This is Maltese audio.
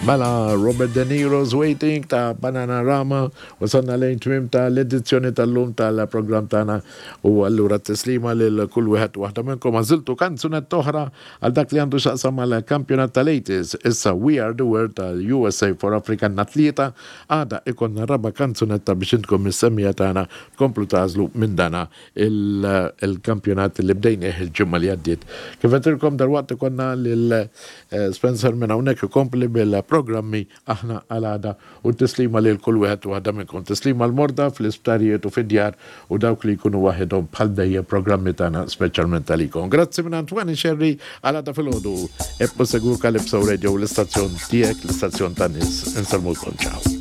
Mela Robert De Niro's Waiting ta' Bananarama wasalna lejn tmiem ta' l-edizzjoni tal-lum tal-programm tagħna u allura tislima lil kull wieħed u waħda minnkom għażiltu kanzunetta oħra għal dak li għandu x'jaqsam mal-kampjonat tal-80s. Issa We Are The World tal-USA for Africa nhar Tlieta għada ikollna raba' kanzunetta biex intkom mis-semmiegħa tagħna tkomplu tagħżlu minn dana il-kampjonat li bdejnieh il-ġimgħa li għaddiet. Kif għedtilkom dalwaqt ikollna lil Spencer minn hawnhekk ikompli bil-programmi aħna għal għada u tislima lil kull wieħed u waħda minnkom. Tislima l-morda fl-isptarijiet u fid-djar u dawk li jkunu waħedhom bħal dejjem programmi tagħna speċjalment għalikom. Grazzi minn Antoine Scerri għal għada filgħodu. Ibqgħu segwu Calypso Radio l-istazzjon tiegħek, l-istazzjon tan-nies. Insellmulkom ciao.